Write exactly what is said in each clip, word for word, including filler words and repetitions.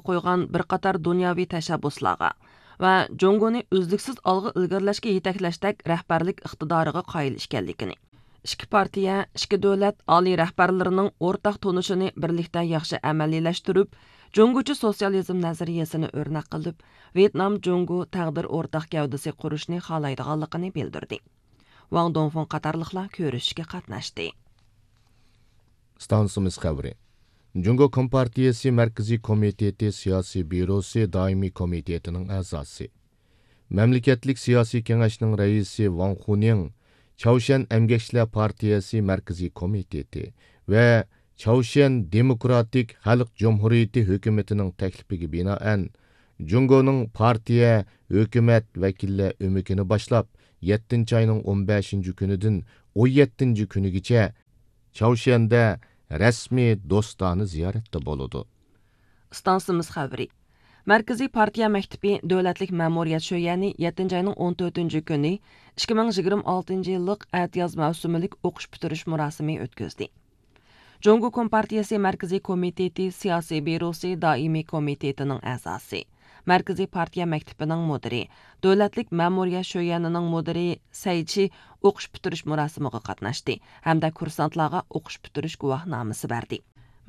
قويغان بىر قاتار دۇنياۋى تەشەببۇسلارغا ۋە جۇڭگونى ئۈزلۈكسىز ئالغا ئىلگىرىلەشكە يېتەكلەشتەك رەھبەرلىك ئىقتىدارىغا قايىل ئىكەنلىكىنى، ئىككى پارتىيە، ئىككى دۆلەت ئالىي رەھبەرلىرىنىڭ ئورتاق تونۇشىنى بىرلىكتە ياخشى ئەمەلىيلەشتۈرۈپ، جۇڭگوچە سوتسىيالىزم نەزەرىيەسىنى ئۆرنەك قىلىپ، ۋيېتنام جۇڭگو تەقدىر ئورتاق گەۋدىسى قۇرۇشنى خالايدىغانلىقىنى بىلدۈردى. ۋاڭ دۇڭفېڭ قاتارلىقلار كۆرۈشۈشكە قاتناشتى. ئىستانسىمىز خەۋىرى. جۇڭگو كومپارتىيىسى مەركىزىي كومىتېتى سىياسىي بيۇروسى دائىمىي كومىتېتىنىڭ ئەزاسى، مەملىكەتلىك سىياسىي كېڭەشنىڭ رەئىسى ۋاڭ خۇنىڭ، چاۋشيەن ئەمگەكچىلەر پارتىيەسى مەركىزىي كومىتېتى ۋە چاۋشيەن دېموكراتىك خەلق جۇمھۇرىيىتى ھۆكۈمىتىنىڭ تەكلىپىگە بىنائەن، جۇڭگونىڭ پارتىيە، ھۆكۈمەت ۋەكىللەر ئۆمىكىنى باشلاپ، يەتتىنچى ئاينىڭ ئون بەشىنچى كۈنىدىن ئون يەتتىنچى كۈنىگىچە چاۋشيەندە رەسمىي دوستانە زىيارەتتە بولىدۇ. ئىستانسىمىز خەۋىرى. مەركىزىي پارتىيە مەكتىپى دۆلەتلىك مەمۇرىيەت شۆيەنى يەتتىنچى ئاينىڭ ئون تۆتىنچى كۈنى ئىككى مىڭ يىگىرمە ئالتىنچى يىللىق ئەتىياز مەۋسۇمىلىك ئوقۇش پۈتتۈرۈش مۇراسىمى ئۆتكۈزدى. جۇڭگو كومپارتىيىسى مەركىزىي كومىتېتى سىياسىي بيۇروسى دائىمىي كومىتېتىنىڭ ئەزاسى، مەركىزىي پارتىيە مەكتىپىنىڭ مۇدىرى، دۆلەتلىك مەمۇرىيەت شۆيەنىنىڭ مۇدىرى سەي چى ئوقۇش پۈتتۈرۈش مۇراسىمىغا قاتناشتى ھەمدە كۇرسانتلارغا ئوقۇش پۈتتۈرۈش گۇۋاھنامىسى بەردى.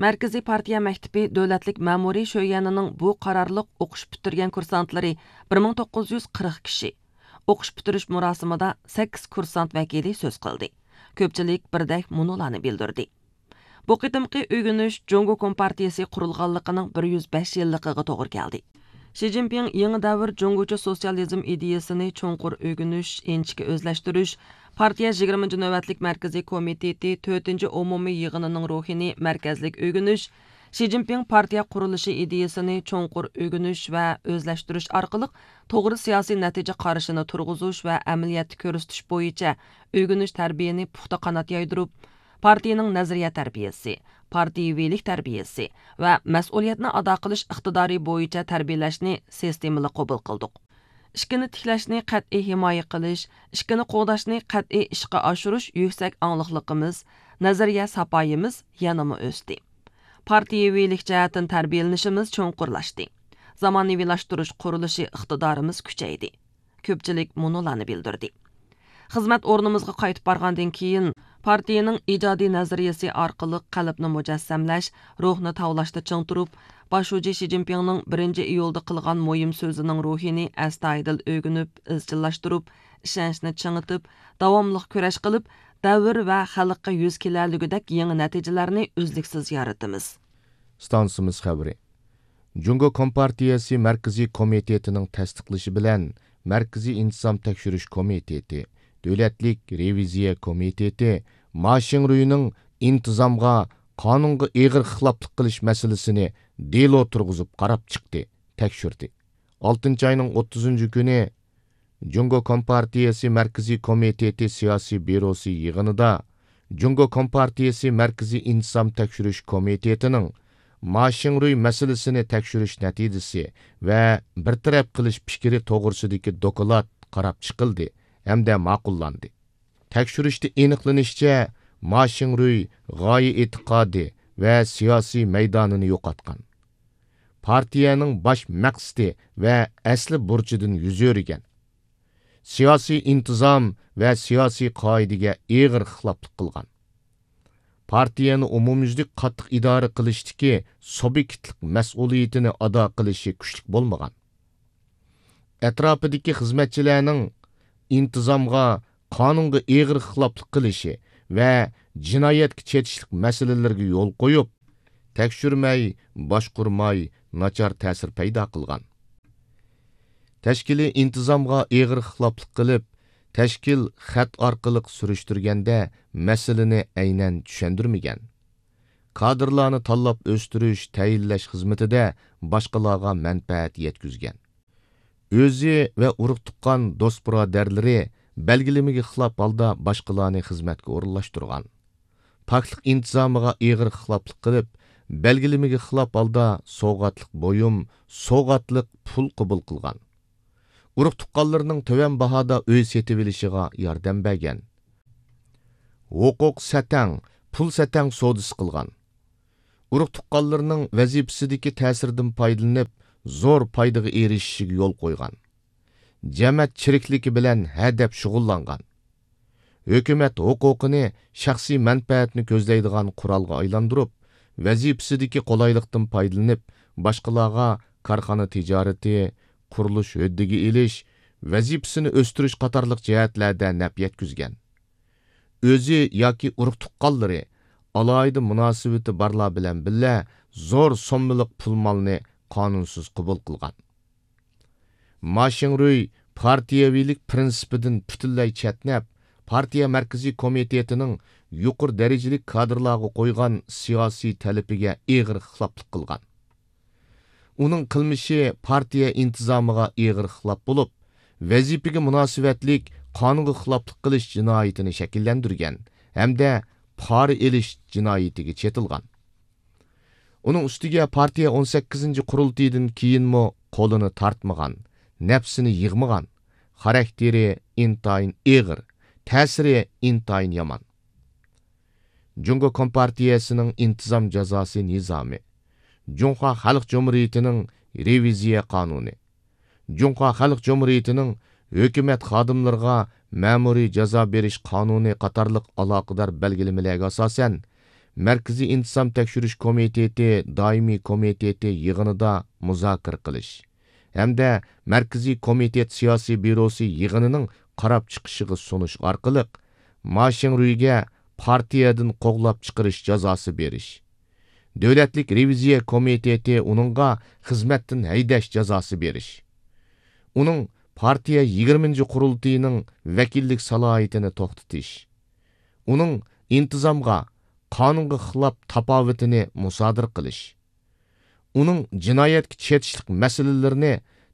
مەركىزىي پارتىيە مەكتىپى دۆلەتلىك مەمۇرىي شۆيەنىنىڭ بۇ قارارلىق ئوقۇش پۈتتۈرگەن كۇرسانتلىرى بىر مىڭ توققۇز يۈز قىرىق كىشى. ئوقۇش پۈتتۈرۈش مۇراسىمىدا سەككىز كۇرسانت ۋەكىلى سۆز قىلدى. كۆپچىلىك بىردەك مۇنۇلارنى بىلدۈردى. بۇ قېتىمقى ئۆگىنىش جۇڭگو كومپارتىيىسى قۇرۇلغانلىقىنىڭ بىر يۈز بەش يىللىقىغا توغرا كەلدى. شى جىنپىڭ يېڭى دەۋر جۇڭگوچە سوتسىيالىزم ئىدىيىسىنى چوڭقۇر ئۆگىنىش، ئىنچىكە ئۆزلەشتۈرۈش، پارتىيە يىگىرمىنچى نۆۋەتلىك مەركىزىي كومىتېتى تۆتىنچى ئومۇمىي يىغىنىنىڭ روھىنى مەركەزلىك ئۆگىنىش، شى جىنپىڭ پارتىيە قۇرۇلۇشى ئىدىيىسىنى چوڭقۇر ئۆگىنىش ۋە ئۆزلەشتۈرۈش ئارقىلىق توغرا سىياسىي نەتىجە قارىشىنى تۇرغۇزۇش ۋە ئەمەلىيەتتە كۆرسىتىش بويىچە ئۆگىنىش تەربىيەنى پۇختا قانات يايدۇرۇپ، پارتىيىنىڭ نەزەرىيە تەربىيەسى، پارتىيىۋىلىك تەربىيەسى ۋە مەسئۇلىيەتنى ئادا قىلىش ئىقتىدارى بويىچە تەربىيەلەشنى سىستېمىلىق قوبۇل قىلدۇق. ئىشكىنى تىكلەشنى قەتئىي ھىمايە قىلىش، ئىشكىنى قوغداشنى قەتئىي ئىشقا ئاشۇرۇش يۈكسەك ئاڭلىقلىقىمىز، نەزەرىيە ساپايىمىز يەنىمۇ ئۆستى. پارتىيىۋىلىك جەھەتتىن تەربىيەلىنىشىمىز چوڭقۇرلاشتى. زامانىۋىلاشتۇرۇش قۇرۇلۇشى ئىقتىدارىمىز كۈچەيدى. كۆپچىلىك مۇنۇلارنى بىلدۈردى. خىزمەت ئورنىمىزغا قايتىپ بارغاندىن كېيىن، پارتىيىنىڭ ئىجادىي نەزەرىيەسى ئارقىلىق قەلبنى مۇجەسسەملەش، روھنى تاۋلاشتا چىڭ تۇرۇپ، باش شۇجى شى جىنپىڭنىڭ بىرىنچى ئىيۇلدا قىلغان مۇھىم سۆزىنىڭ روھىنى ئەستايىدىل ئۆگىنىپ، ئىزچىللاشتۇرۇپ، ئىشەنچنى چىڭىتىپ، داۋاملىق كۈرەش قىلىپ، دەۋر ۋە خەلققە يۈز كېلەلىگۈدەك يېڭى نەتىجىلەرنى ئۈزلۈكسىز يارىتىمىز. ئىستانسىمىز خەۋىرى. جۇڭگو كومپارتىيەسى مەركىزىي كومىتېتىنىڭ تەستىقلىشى بىلەن، مەركىزىي ئىنتىزام تەكشۈرۈش كومىتېتى، دۆلەتلىك رېۋىزىيە كومىتېتى ما شىڭرۇينىڭ ئىنتىزامغا، قانۇنغا ئېغىر خىلاپلىق قىلىش مەسىلىسىنى دېلو تۇرغۇزۇپ قاراپ چىقتى، تەكشۈردى. ئالتىنچى ئاينىڭ ئوتتۇزىنچى كۈنى جۇڭگو كومپارتىيەسى مەركىزىي كومىتېتى سىياسىي بيۇروسى يىغىنىدا جۇڭگو كومپارتىيەسى مەركىزىي ئىنتىزام تەكشۈرۈش كومىتېتىنىڭ ما شىڭرۇي مەسىلىسىنى تەكشۈرۈش نەتىجىسى ۋە بىر تەرەپ قىلىش پىكرى توغرىسىدىكى دوكلات قاراپ چىقىلدى ھەمدە ماقۇللاندى. تەكشۈرۈشتە ئېنىقلىنىشىچە، ما شىڭرۇي غايە ئېتىقادى ۋە سىياسىي مەيدانىنى يوقاتقان. پارتىيەنىڭ باش مەقسىتى ۋە ئەسلى بۇرچىدىن يۈز ئۆرۈگەن. سىياسىي ئىنتىزام ۋە سىياسىي قائىدىگە ئېغىر خىلاپلىق قىلغان. پارتىيەنى ئومۇميۈزلۈك قاتتىق ئىدارە قىلىشتىكى سۇبيېكتلىق مەسئۇلىيىتىنى ئادا قىلىشى كۈچلۈك بولمىغان. ئەتراپىدىكى خىزمەتچىلەرنىڭ ئىنتىزامغا، قانۇنغا ئېغىر خىلاپلىق قىلىشى ۋە جىنايەتكە چېتىشلىق مەسىلىلىرىگە يول قويۇپ، تەكشۈرمەي، باشقۇرماي، ناچار تەسىر پەيدا قىلغان. تەشكىلىي ئىنتىزامغا ئېغىر خىلاپلىق قىلىپ، تەشكىل خەت ئارقىلىق سۈرۈشتۈرگەندە مەسىلىنى ئەينەن چۈشەندۈرمىگەن. كادىرلارنى تاللاپ ئۆستۈرۈش، تەيىنلەش خىزمىتىدە باشقىلارغا مەنپەئەت يەتكۈزگەن. ئۆزى ۋە ئۇرۇق-تۇغقان، دوست-بۇرادەرلىرى بەلگىلىمىگە خىلاپ ھالدا باشقىلارنى خىزمەتكە ئورۇنلاشتۇرغان. پاكلىق ئىنتىزامىغا ئېغىر خىلاپلىق قىلىپ، بەلگىلىمىگە خىلاپ ھالدا سوۋغاتلىق بۇيۇم، سوۋغاتلىق پۇل قوبۇل قىلغان. ئۇرۇق-تۇغقانلىرىنىڭ تۆۋەن باھادا ئۆي سېتىۋېلىشىغا ياردەم بەرگەن. ھوقۇق سەتەڭ، پۇل سەتەڭ سودىسى قىلغان. ئۇرۇق تۇغقانلىرىنىڭ ۋەزىپىسىدىكى تەسىرىدىن پايدىلىنىپ، زور پايدىغا ئېرىشىشىگە يول قويغان. جەمەت چىرىكلىكى بىلەن ھەدەپ شۇغۇللانغان. ھۆكۈمەت ھوقۇقىنى شەخسىي مەنپەئەتنى كۆزلەيدىغان قورالغا ئايلاندۇرۇپ، ۋەزىپىسىدىكى قولايلىقتىن پايدىلىنىپ، باشقىلارغا كارخانا تىجارىتى، قۇرۇلۇش ھۆددىگە ئېلىش، ۋەزىپىسىنى ئۆستۈرۈش قاتارلىق جەھەتلەردە نەپ يەتكۈزگەن. ئۆزى ياكى ئۇرۇق تۇغقانلىرى، ئالاھىدە مۇناسىۋىتى بارلار بىلەن بىللە زور سوممىلىق پۇل مالنى قانۇنسىز قوبۇل قىلغان. ما شىڭرۇي پارتىيەۋىلىك پىرىنسىپىدىن پۈتۈنلەي چەتنەپ، پارتىيە مەركىزىي كومىتېتىنىڭ يۇقىرى دەرىجىلىك كادىرلارغا قويغان سىياسىي تەلىپىگە ئېغىر خىلاپلىق قىلغان. ئۇنىڭ قىلمىشى پارتىيە ئىنتىزامىغا ئېغىر خىلاپ بولۇپ، ۋەزىپىگە مۇناسىۋەتلىك قانۇنغا خىلاپلىق قىلىش جىنايىتىنى شەكىللەندۈرگەن ھەمدە پارا ئېلىش جىنايىتىگە چېتىلغان. ئۇنىڭ ئۈستىگە پارتىيە ئون سەككىزىنچى قۇرۇلتىيىدىن كېيىنمۇ قولىنى تارتمىغان، نەپسىنى يىغمىغان، خاراكتېرى ئىنتايىن ئېغىر، تەسىرى ئىنتايىن يامان. جۇڭگو كومپارتىيەسىنىڭ ئىنتىزام جازاسى نىزامى، جۇڭخۇا خەلق جۇمھۇرىيىتىنىڭ رېۋىزىيە قانۇنى، جۇڭخۇا خەلق جۇمھۇرىيىتىنىڭ ھۆكۈمەت خادىملىرىغا مەمۇرىي جازا بېرىش قانۇنى قاتارلىق ئالاقىدار بەلگىلىمىلەرگە ئاساسەن، مەركىزىي ئىنتىزام تەكشۈرۈش كومىتېتى دائىمىي كومىتېتى يىغىنىدا مۇزاكىرە قىلىش ھەمدە مەركىزىي كومىتېت سىياسىي بيۇروسى يىغىنىنىڭ قاراپ چىقىشىغا سۇنۇش ئارقىلىق، ما شىڭرۇيگە پارتىيەدىن قوغلاپ چىقىرىش جازاسى بېرىش، دۆلەتلىك رېۋىزىيە كومىتېتى ئۇنىڭغا خىزمەتتىن ھەيدەش جازاسى بېرىش، ئۇنىڭ پارتىيە يىگىرمىنچى قۇرۇلتىيىنىڭ ۋەكىللىك سالاھىيىتىنى توختىتىش، ئۇنىڭ ئىنتىزامغا، قانۇنغا خىلاپ تاپاۋىتىنى مۇسادىرە قىلىش، ئۇنىڭ جىنايەتكە چېتىشلىق مەسىلىلىرىنى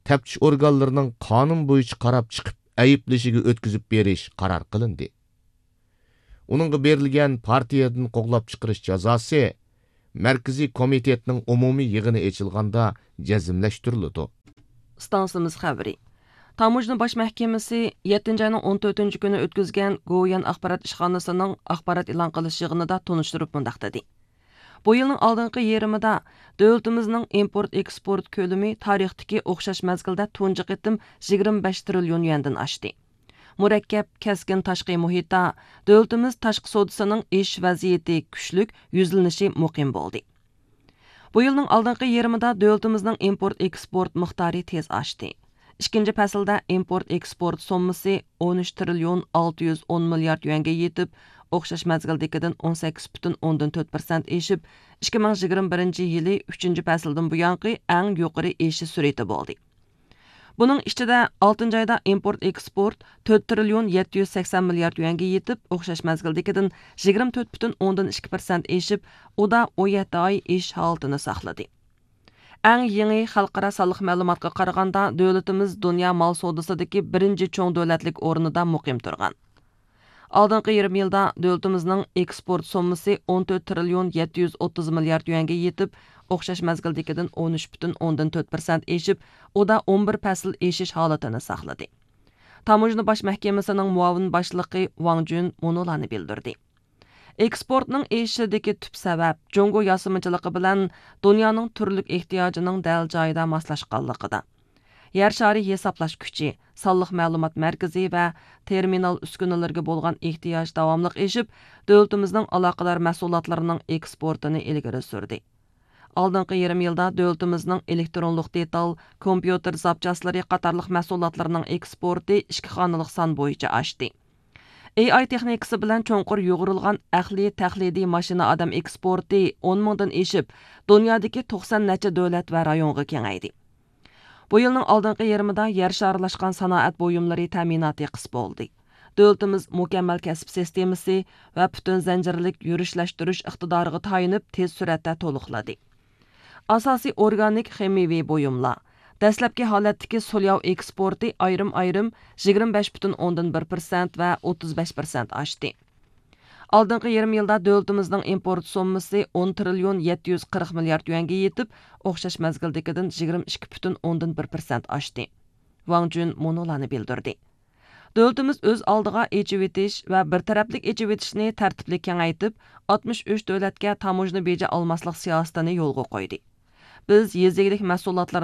تەپتىش ئورگانلىرىنىڭ قانۇن بويىچە قاراپ چىقىپ ئەيىبلىشىگە ئۆتكۈزۈپ بېرىش قارار قىلىندى. ئۇنىڭغا بېرىلگەن پارتىيەدىن قوغلاپ چىقىرىش جازاسى مەركىزىي كومىتېتنىڭ ئومۇمىي يىغىنى ئېچىلغاندا جەزملەشتۈرۈلىدۇ. ئىستانسىمىز خەۋىرى. تاموژنا باش مەھكىمىسى يەتتىنچى ئاينىڭ ئون تۆتىنچى كۈنى ئۆتكۈزگەن گوۋۇيۈەن ئاخبارات ئىشخانىسىنىڭ ئاخبارات ئېلان قىلىش يىغىنىدا تونۇشتۇرۇپ مۇنداق دېدى: بۇ يىلنىڭ ئالدىنقى يېرىمىدا دۆلىتىمىزنىڭ ئىمپورت ئېكسپورت كۆلىمى تارىختىكى ئوخشاش مەزگىلدە تۇنجى قېتىم يىگىرمە بەش تىرىليون يۈەندىن ئاشتى. مۇرەككەپ، كەسكىن تاشقى مۇھىتتا، دۆلىتىمىز تاشقى سودىسىنىڭ ئېشىش ۋەزىيىتى كۈچلۈك، يۈزلىنىشى مۇقىم بولدى. بۇ يىلنىڭ ئالدىنقى يېرىمىدا دۆلىتىمىزنىڭ ئىمپورت ئېكسپورت مىقدارى تېز ئاشتى. ئىككىنچى پەسىلدە ئىمپورت ئېكسپورت سوممىسى ئون ئۈچ تىرىليون ئالتە يۈز ئون مىليارد يۈەنگە يېتىپ، ئوخشاش مەزگىلدىكىدىن ئون سەككىز پۈتۈن ئوندىن تۆت پىرسەنت ئېشىپ، ئىككى مىڭ يىگىرمە بىرىنچى يىلى ئۈچىنچى پەسىلدىن بۇيانقى ئەڭ يۇقىرى ئېشىش سۈرئىتى بولدى. بۇنىڭ ئىچىدە، ئالتىنچى ئايدا ئىمپورت ئېكسپورت تۆت تىرىليون يەتتە يۈز سەكسەن مىليارد يۈەنگە يېتىپ، ئوخشاش مەزگىلدىكىدىن يىگىرمە تۆت پۈتۈن ئوندىن ئىككى پىرسەنت ئېشىپ، ئۇدا ئون يەتتە ئاي ئېشىش ھالىتىنى ساقلىدى. ئەڭ يېڭى خەلقئارا سانلىق مەلۇماتقا قارىغاندا، دۆلىتىمىز دۇنيا مال سودىسىدىكى بىرىنچى چوڭ دۆلەتلىك ئورنىدا مۇقىم تۇرغان. ئالدىنقى يېرىم يىلدا دۆلىتىمىزنىڭ ئېكسپورت سوممىسى ئون تۆت تىرىليون يەتتە يۈز ئوتتۇز مىليارد يۈەنگە يېتىپ، ئوخشاش مەزگىلدىكىدىن ئون ئۈچ پۈتۈن ئوندىن تۆت پىرسەنت ئېشىپ، ئۇدا ئون بىر پەسىل ئېشىش ھالىتىنى ساقلىدى. تاموژنا باش مەھكىمىسىنىڭ مۇئاۋىن باشلىقى ۋاڭ جۈن مۇنۇلارنى بىلدۈردى: ئېكسپورتنىڭ ئېشىشىدىكى تۈپ سەۋەب جۇڭگو ياسىمىچىلىقى بىلەن دۇنيانىڭ تۈرلۈك ئېھتىياجىنىڭ دەل جايىدا ماسلاشقانلىقىدا. يەر شارى ھېسابلاش كۈچى، سانلىق مەلۇمات مەركىزى ۋە تېرمىنال ئۈسكۈنىلىرىگە بولغان ئېھتىياج داۋاملىق ئېشىپ، دۆلىتىمىزنىڭ ئالاقىدار مەھسۇلاتلىرىنىڭ ئېكسپورتىنى ئىلگىرى سۈردى. ئالدىنقى يېرىم يىلدا دۆلىتىمىزنىڭ ئېلېكترونلۇق دېتال، كومپيۇتېر زاپچاسلىرى قاتارلىق مەھسۇلاتلىرىنىڭ ئېكسپورتى ئىككى خانىلىق سان بويىچە ئاشتى. ئېي ئاي تېخنىكىسى بىلەن چوڭقۇر يۇغۇرۇلغان ئەقلىي تەقلىدىي ماشىنا ئادەم ئېكسپورتى ئون مىڭدىن ئېشىپ، دۇنيادىكى توقسان نەچچە دۆلەت ۋە رايونغا كېڭەيدى. بۇ يىلنىڭ ئالدىنقى يېرىمىدا يەر شارلاشقان سانائەت بۇيۇملىرى تەمىناتى قىس بولدى. دۆلىتىمىز مۇكەممەل كەسىپ سىستېمىسى ۋە پۈتۈن زەنجىرلىك يۈرۈشلەشتۈرۈش ئىقتىدارىغا تايىنىپ، تېز سۈرئەتتە تولۇقلىدى. ئاساسىي ئورگانىك خىمىيىۋى بۇيۇملار، دەسلەپكى ھالەتتىكى سۇلياۋ ئېكسپورتى ئايرىم-ئايرىم يىگىرمە بەش پۈتۈن ئوندىن بىر پىرسەنت ۋە ئوتتۇز بەش پىرسەنت ئاشتى. ئالدىنقى يېرىم يىلدا دۆلىتىمىزنىڭ ئىمپورت سوممىسى ئون تىرىليون يەتتە يۈز قىرىق مىليارد يۈەنگە يېتىپ، ئوخشاش مەزگىلدىكىدىن يىگىرمە ئىككى پۈتۈن ئوندىن بىر پىرسەنت ئاشتى. ۋاڭ جۈن مۇنۇلارنى بىلدۈردى: دۆلىتىمىز ئۆز ئالدىغا ئېچىۋېتىش ۋە بىر تەرەپلىك ئېچىۋېتىشنى تەرتىپلىك كېڭەيتىپ، ئاتمىش ئۈچ دۆلەتكە تاموژنا بېجى ئالماسلىق سىياسىتىنى يولغا قويدى. بىز يېزا ئىگىلىك مەھسۇلاتلىرىنى